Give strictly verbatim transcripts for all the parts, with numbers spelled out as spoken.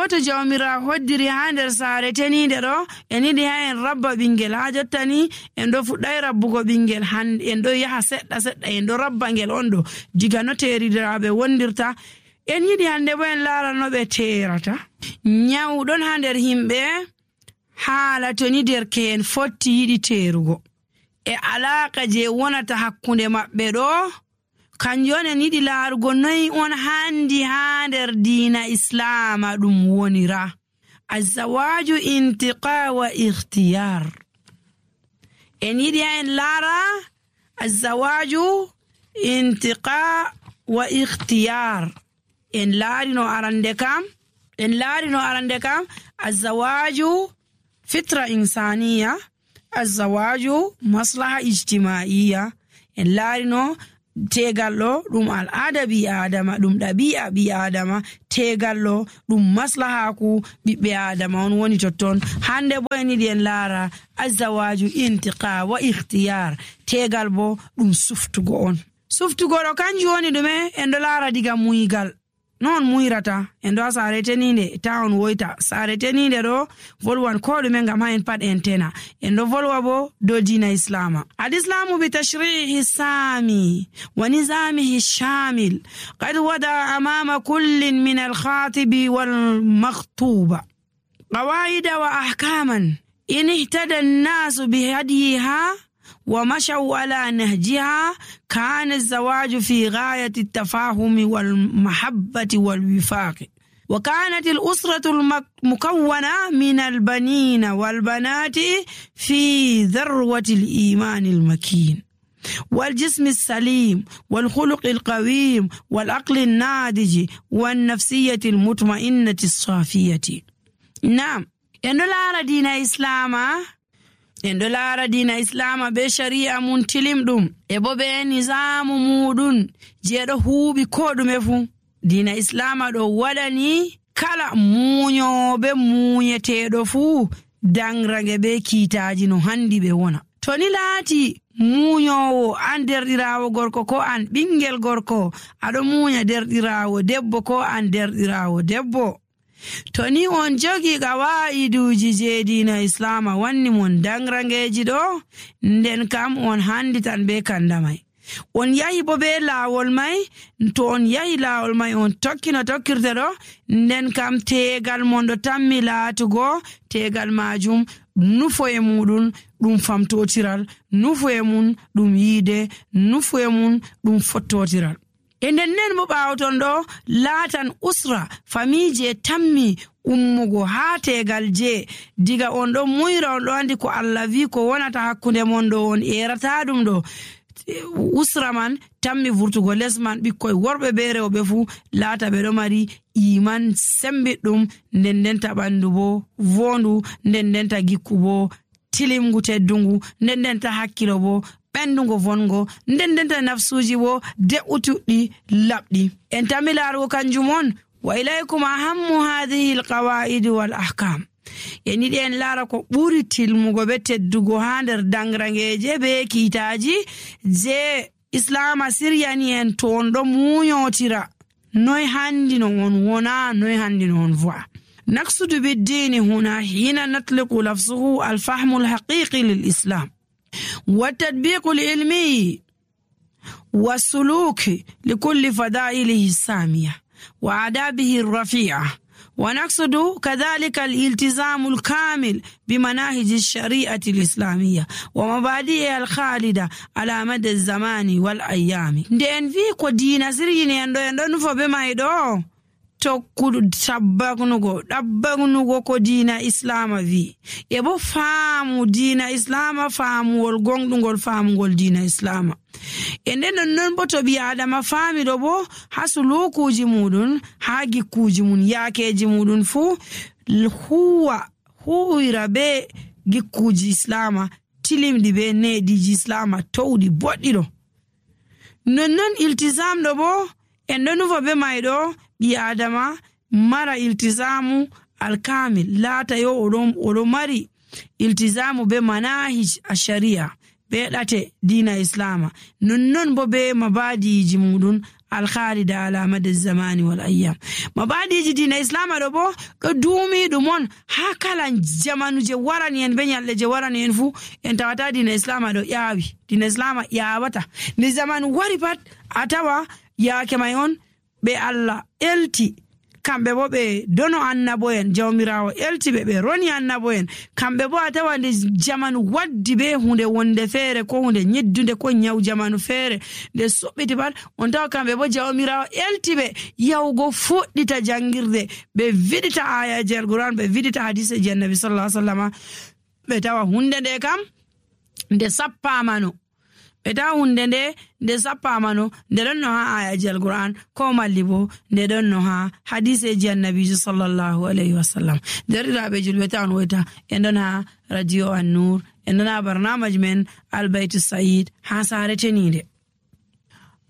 bo to jawmira hoddiri ha nder saare teninde ɗo en yiɗi ha en rabba ɓingel ha jottani en ɗo fuɗɗai rabbugo ɓingel han en ɗo yaha seɗɗa seɗɗa en ɗo rabba ngel on ɗo diga no teridiraɓe wondirta. En yiɗi hande bo en laara no ɓe terata. Nyawɗon ha nder himɓe haala to ni derke'en fotti yiɗi terugo e alaka je wonata hakkunde maɓɓe ɗo kanjon en yiɗi laarugo noy on handi ha nder diina islama ɗum wonira. Azawaju intiqa wa ikhtiyar. En yiɗi ha en laara azawaju intiqa wa ikhtiyar. En laari no arande kam en laari no arande kam azawaju fitra insaniya, azawaju maslaha ijtimaiya. En laari no tegal ɗo ɗum al'ada bi adama, ɗum ɗabi'a bi adama. Tegal ɗo ɗum maslahaku ɓiɓɓe adama on woni totton. Hande bo en yiɗi en laara azawaju intiqa wa ikhtiyar. Tegal bo ɗum suftugo on. Suftugo ɗo kanjum woni ɗume en ɗo laara diga muygal. Non muyrata en ɗo ha saare teninde ta on woyta. Saare teninde ɗo volwan ko ɗume ngam ha en pat en tena. En ɗo volwa bo do dina islama. Al-islamu bi tashrihi sami wa nizamihi shamil qad wada amama kullin min al-khatibi wal makhtuba qawaida wa ahkaman in ihtada an-nas bi hadiha ومشوا على نهجها. كان الزواج في غاية التفاهم والمحبة والوفاق. وكانت الأسرة المكونة من البنين والبنات في ذروة الإيمان المكين والجسم السليم والخلق القويم والعقل الناضج والنفسية المطمئنة الصافية. نعم إن لا دين إسلاما en ɗo laara diina islama be shari'a mun tilim ɗum e bo be nizamu muɗum je ɗo huuɓi ko ɗume fu. Diina islama ɗo waɗani kala muñoɓe muñeteɗo fu dangrage be kiitaji no handi ɓe wona. To ni laati muñowo an derɗirawo gorko ko an ɓingel gorko aɗo muña derɗirawo debbo ko an derɗirawo debbo, to ni on jogi qawaiduji je diina islama wanni mon dangrangeji ɗo, nden kam on handitan be kandamai. On yahi bo be laawol mai, to on yahi laawol mai on tokki no tokkirte ɗo, nden kam tegal mon ɗo tammi laatugo tegal majum nufo e muɗum ɗum famtotiral, nufo e mun ɗum yiide, nufo e mun ɗum fottotiral. E nden nden mo ɓaawton ɗo laatan usra famille tammi ummugo haa tegal je diga on ɗo muyra on ɗo andi ko Allah wi ko wonata hakkunde mon ɗo on erata ɗum ɗo. Usra man tammi vurtugo les man ɓikkoy worɓe be rewɓe fu laata ɓe ɗo mari iman sembiɗɗum, nden ndenta ɓandu bo vondu, nden ndenta gikku bo tilimgu teddungu, nden ndenta hakkilo bo ɓendungo vongo, nden ndenta nafsuji bo de'utuɗɗi laɓɗi. En tammi laarugo kanjum on wa ilaykum ahammu hadhihi alqawaid wal ahkam. En yiɗi en laara ko ɓuri tilmugo be teddugo ha nder dangrangeje be kiitaji je islama siryani en to on ɗo muñotira noy handi no on wona, noy handi no on vo'a. نقصد بالدين هنا حين نطلق لفظه الفهم الحقيقي للإسلام والتطبيق العلمي والسلوك لكل فضائله السامية وآدابه الرفيعة. ونقصد كذلك الالتزام الكامل بمناهج الشريعة الإسلامية ومبادئها الخالدة على مدى الزمان والأيام. دين في كدين سريني يندو يندو نفو بما يدو tokkudu tabbagnugo ɗabbagnugo ko diina islama wi e bo faamu diina islama faamuwol gonɗugol faamugol diina islama. E nden non bo to ɓi adama faamiɗo bo ha sulukuji muɗum ha gikkuji mum yaakeji muɗum fu huwa huwira be gikkuji islama tilimɗi be neɗiji islama towɗi boɗɗiɗo. Nonnon iltisamɗo bo en ɗo nufa be mayɗo ɓi adama mara iltizamu alkamil laata yo oɗon oɗo mari iltizamu be manahij asharia be ɗate dina islama, nonnon bo be mabadiji muɗum alkhalida ala madi zamani wal ayyam. Mabadiji dina islama ɗo bo ɗo duumi ɗum on ha kala jamanu je warani en be nyalɗe je warani en fu en tawata dina islama ɗo ƴaawi. Dina islama ƴaawata nde zamanu wari pat a tawa yaake may on ɓe Allah elti kamɓe bo ɓe dono annabo'en jawmirawo elti ɓe ɓe roni annabo'en kamɓe bo a tawa nde jamanu waddi be hunde wonde feere ko hunde nyeddunde ko nyaw jamanu feere nde soɓɓiti pat on tawa kamɓe bo jawmirawo elti ɓe yawgo fuɗɗita jangirde ɓe vidita ayaji alquran ɓe vidita hadise ji annabi sallallahu alaihi wasallam ɓe tawa hunde nde kam nde sappamano ɓe tawa hunde nde nde sappamano nde ɗon no ha ayaji alquran ko malli bo nde ɗon no ha hadiseji annabijo sallallahu alaihi wasallam. derɗiraɓe julɓe tawan woyta en ɗon ha radio an-nur en ɗon ha barnamaji men albaytu said ha sare tenide.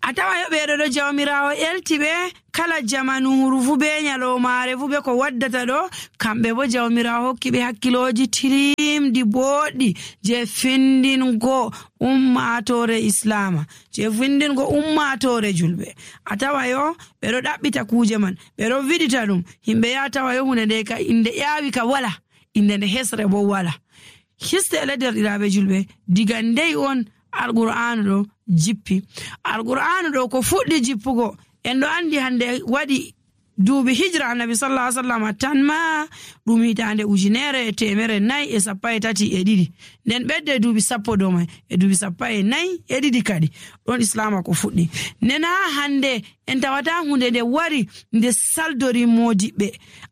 A tawa yoɓeɗo ɗo jawmirawo elti ɓe kala jamanuru fu be nyalomare fu be ko waddata ɗo kamɓe bo jawmirawo hokki ɓe hakkiloji tirimdi boɗɗi je findingo ummatore islama je findingo ummatore julɓe. A tawa yo ɓeɗo ɗaɓɓita kuje man ɓeɗo vidita ɗum himɓe ya tawa yo hunde nde ka inde ƴaawi ka wala inde nde hesre bo wala. Histe ele derɗiraɓe julɓe diga ndey on alqur'anu ɗo jippi. Alqur'anu ɗo ko fuɗɗi jippugo en ɗo andi hande waɗi duuɓi hijra annabi sallallahu alaihi wasallam tan ma ɗum hitande ujunere e temere nayi e sappo e tati e ɗiɗi nden ɓedde duuɓi sappo dow mai e duuɓi sappo e nayi e ɗiɗi kadi ɗon islama ko fuɗɗi. Nden ha hande en tawata hunde nde wari nde saldori modiɓɓe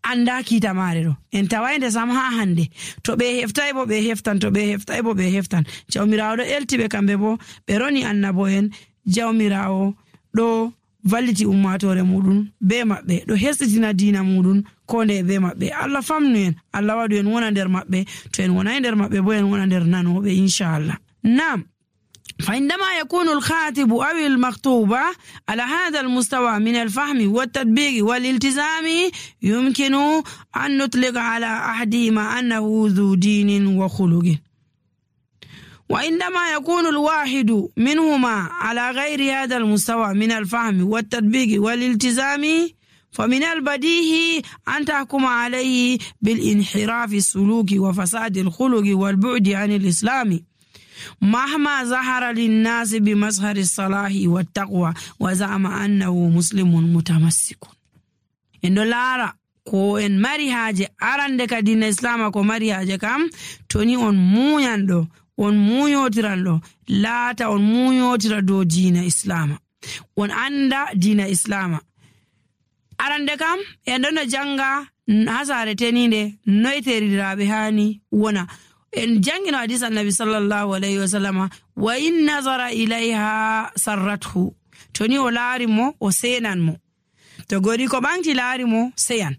anda kiita mare ɗo en tawayde sam ha hande to ɓe heftay bo ɓe heftan to ɓe heftay bo ɓe heftan. Jawmirawo ɗo eltiɓe kamɓe bo ɓe roni annabo en jawmirawo ɗo valliti ummatore muɗum be maɓɓe ɗo hesitina dina muɗum ko nde be maɓɓe. Allah famnu en Allah waɗu en wona nder maɓɓe to en wonai nder maɓɓe bo en wona nder nanoɓe inchallah. Nam فعندما يكون الخاطب أو المخطوبة على هذا المستوى من الفهم والتطبيق والالتزام يمكن أن نطلق على أحدهما أنه ذو دين وخلق. وعندما يكون الواحد منهما على غير هذا المستوى من الفهم والتطبيق والالتزام فمن البديهي أن تحكم عليه بالانحراف السلوكي وفساد الخلق والبعد عن الإسلام مهما ظهر للناس بمظهر الصلاح والتقوى وزعم أنه مسلم متمسك. إن لارا ko en mari haje arande ka dina islama ko mari haje kam toni on muyando on muyotiran ɗo laata on muyotira dow dina islama on anda dina islama. Arande kam en ɗon no janga ha sare teninde noyteriraɓe hani wona en jangino hadis annabi sallallahu alaihi wasallam wa in nazara ilayha sarrathu toni o laari mo o senan mo to gori ko ɓanti laari mo seyan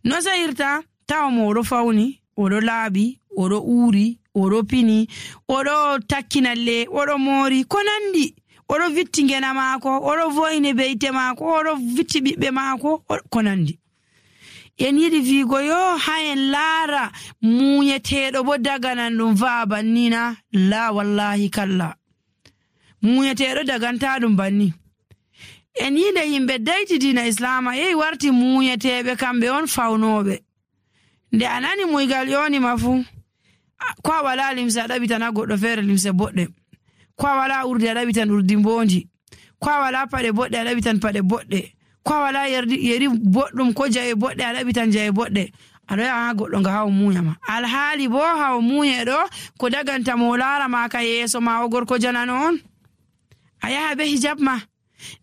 no sayirta tawa mo oɗo fawni oɗo laaɓi oɗo uuri oɗo pini oɗo takkinalle oɗo moori ko nandi oɗo vitti ngena maako oɗo voyne beyte maako oɗo vitti ɓiɓɓe maako ko nandi. En yiɗi wiigo yo ha en laara muñeteɗo bo daganan ɗum va'a bannina la wallahi kalla muñeteɗo daganta ɗum banni. En yiɗe yimɓe dayti dina islama yehi warti muñeteɓe kamɓe on fawnoɓe nde a nani muygal yonima fu ko a wala limse a ɗaɓitana goɗɗo feere limse boɗɗe ko a wala urdi a ɗaɓitan urdi mbondi ko a wala paɗe boɗɗe a ɗaɓitan paɗe boɗɗe ko a wala yeri boɗɗum ko jawe boɗɗe a ɗaɓitan jawe boɗɗe aɗo yaha ha goɗɗo nga hawo muñama alhaali bo hawo muñe ɗo ko daganta mo laara ma ka yeeso ma o gorko janano on a yaha be hijab ma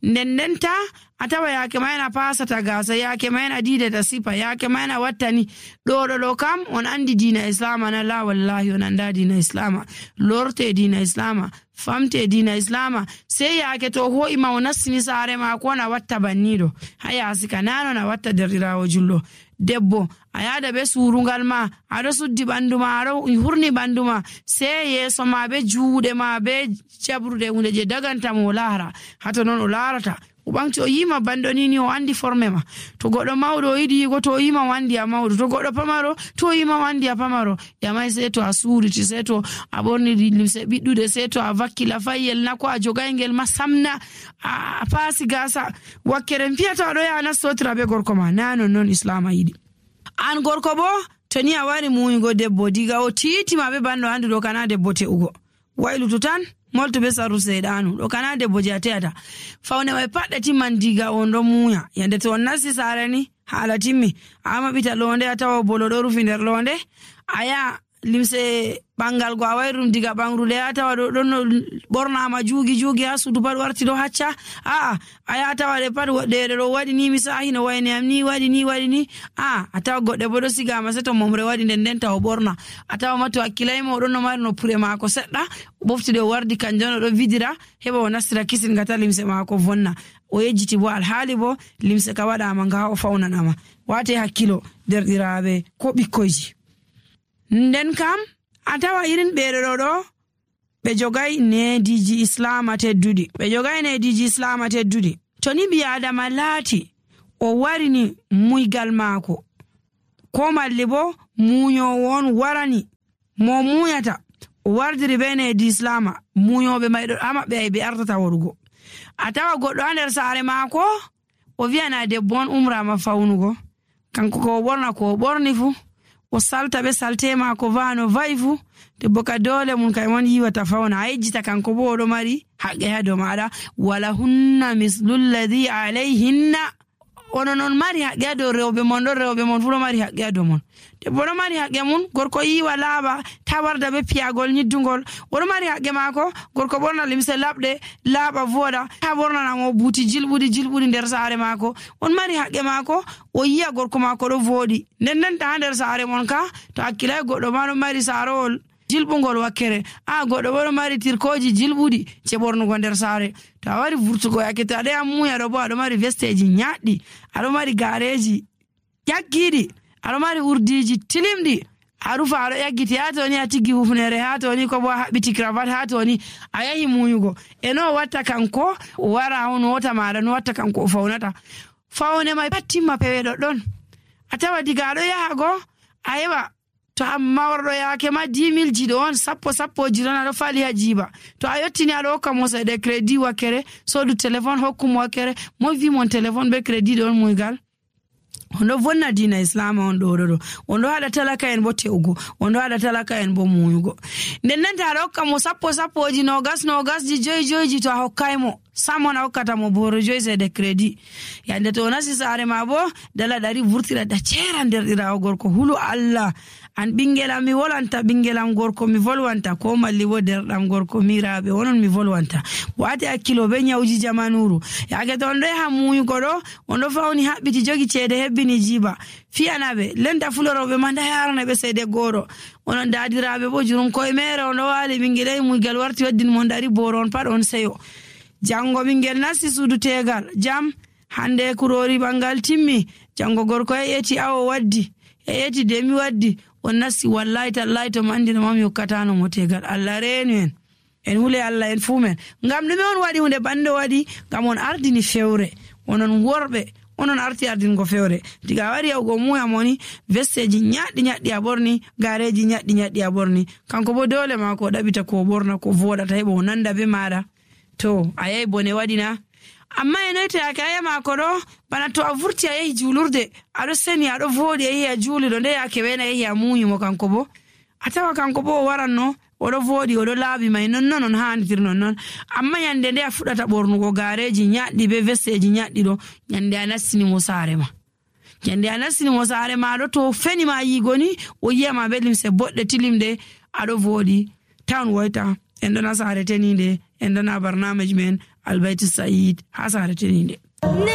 nden ndenta a tawa yaake mayna pasata gasa yaake mayna didata sipa yaake mayna wattani ɗo ɗo ɗo kam on andi dina islama na la wallahi on anda dina islama lorte dina islama famte dina islama sey yaake to ho'ima o nassini saare ma ko na watta banniɗo ha yaasi ka nano na watta derɗirawo jullo debbo a yada be surungal ma aɗo suddi ɓandu ma aɗo hurni ɓandu ma sey yeeso ma be juuɗe ma be jabrude hunde je daganta mo laara hato noon o laarata o ɓamti o yima banɗo ni ni o andi forme ma. To goɗɗo mawɗo o yiɗi yigo to o yima wandi a mawɗo, to goɗɗo pamaro to o yima wandi a pamaro. Yamai sai to a suuriti, sai to a ɓorni limse ɓiɗɗude, sai to a vakkila fayyel na ko a jogaygel ma samna a paasi gasa wakkere piyata aɗo yaha nastotira be gorko ma. Na non non Islam yiɗi. An gorko bo to ni a wari muyugo debbo diga o titima be banɗo andi ɗo kana debbo te'ugo, waylutu tan molto be saru seedanu ɗo kana debbo je a te'ata. Fawne mai pat ɗe timman diga on ɗo muya. Yande to on nasti saare ni haala timmi a maɓɓita londe a tawa bolo ɗo rufi nder londe, a yaha limse ɓangal go a wayrum diga ɓangrude a tawa ɗo ɗon ɓornama juugi juugi ha suudu pat warti ɗo hacca. Aa a yaha tawa ɗe pat ɗeɗe ɗo waɗi ni mi sahi no wayne am ni waɗi ni waɗi ni. a a tawa goɗɗe bo ɗo sigama sai to momre waɗi nden nden taw ɓorna. A tawa ma to hakkilayma oɗon no mari no pure mako seɗɗa o ɓoftude o wardi kanjum ɗo vidira heɓa o nastira kisin gata limse mako vonna. O yejjiti bo alhaali bo limse ka waɗama nga o fawnanama. Wate hakkilo derɗiraɓe ko ɓikkoyji. Nden kam a tawa irin ɓeɗo ɗo ɗo ɓe jogai nediji Islama tedduɗi, ɓe jogai nediji Islama tedduɗi. To ni ɓi adama laati o warini muygal maako ko malli bo muyowo on warani mo muyata o wardiri be nedi Islama, muyoɓe mayɗo ha maɓɓe ay ɓe artata warugo. A tawa goɗɗo ha nder saare maako o wiyana debbo on umrama fawnugo, kanko ko o ɓorna ko o ɓorni fu o salta be salte mako vano vai fu, debbo ka dole mun kay mon yiwata fawna. A yejjita kanko bo oɗo mari haqqe ha dow maɗa. Wala hunna mislul ladhi alayhinna, ono non mari haqqe ha dow rewɓe mon ɗon, rewɓe mon fu ɗo mari haqqe ha dow mon. Debbo ɗo mari haqqe mun, gorko yiwa laaɓa ta warda be piyagol nyiddugol, oɗo mari haqqe mako. Gorko ɓorna limse laɓɗe laaɓa voɗa ta ɓornanamo buuti jilɓuɗi jilɓuɗi nder saare mako, on mari haqqe mako. O yiya gorko mako ɗo voɗi nden nden ta nder saare mon ka to hakkilay goɗɗo ma ɗo mari saarowol jilɓugol wakkere, a goɗɗo bo ɗo mari tirkoji jilɓuɗi je ɓornugo nder saare. To a wari vurtugo yakke to aɗo ya muya ɗo bo aɗo mari vesteji nyaɗɗi, aɗo mari gareji ƴaggiɗi, aɗo mari urdiji tilimɗi, a rufa aɗo ƴaggiti ha toni a tiggi hufnere, ha toni ko bo a haɓɓiti cravat, ha toni a yahi muyugo. E no watta kanko o wara on wota maɗa no watta kanko o fawnata. Fawne mai pat timma pewe ɗoɗɗon. A tawa diga aɗo yaha go a heɓa to amma warɗo yake ma dix mille jiɗo on sappo sappo jiran aɗo fali ha jiba. To a yottini aɗo hokka mo seɗe crédit wakkere sodu téléphone hokkumo wakkere, mo wi mon téléphone be crédit ɗon muygal. On ɗo vonna dina Islama on ɗo ɗo on ɗo haɗa talaka en bo te'ugo, on ɗo haɗa talaka en bo muyugo. Nden nden ta aɗa hokka mo sappo sappoji nogas nogasji joyi joyiji, to a hokkaymo sam on a hokkata mo boro joyi seɗe crédit. Yande to o nasti saare ma bo dala ɗari vurtira da cera nder ɗirawo gorko hulu Allah. An ɓingelam mi volwanta ɓingelam gorko mi volwanta, ko malli bo derɗam gorko miraɓe onon mi volwanta. Wati hakkilo be nyawji jamanuru. Yake to on ɗo yaha muyugo ɗo on ɗo fawni haɓɓiti jogi ceede hebbini jiba, fiyanaɓe lenta fuloroɓe ma nda yarana ɓe seede goro. Onon dadiraɓe bo jurum koye mere on ɗo wali ɓingelay muygal warti waddin mon dari boro on pat on seyo. Jango ɓingel nasti suudu tegal jam hande kurori ɓangal timmi, jango gorko e yeti awo waddi e yeti demi waddi, on nasti wallahi tallahi to mandi no mami hokkatano mo tegal. Allah reenu en en hule Allah en fu men. Ngam ɗume on waɗi hunde bande waɗi? Ngam on ardini fewre, onon worɓe onon arti ardingo fewre. Diga wari yawgo muya moni vesteji nyaɗɗi nyaɗɗi a ɓorni, gareji nyaɗɗi nyaɗɗi a ɓorni, kanko bo dole ma ko ɗaɓita ko ɓorna ko voɗata heɓa o nanda be maɗa. To a yahi bone waɗina. Amma e noy to yake a yahi mako ɗo bana to a vurti a yahi julurde aɗo seni aɗo voɗi a yahi a juuli ɗo nde yake wena yahi a muyimo kanko bo a tawa kanko bo o waranno oɗo voɗi oɗo laaɓi mai nonnon on handir nonnon. Amma yande nde a fuɗata ɓornugo gareji nyaɗɗi be vesteji nyaɗɗi ɗo yande a nastinimo saare ma, yande a nastinimo saare ma ɗo to feni ma yigoni o yiyama be limse boɗɗe tilimde aɗo voɗi tan woyta en ɗona saare teninde en ɗona barnamaji men Albayti Said ha saare teninde.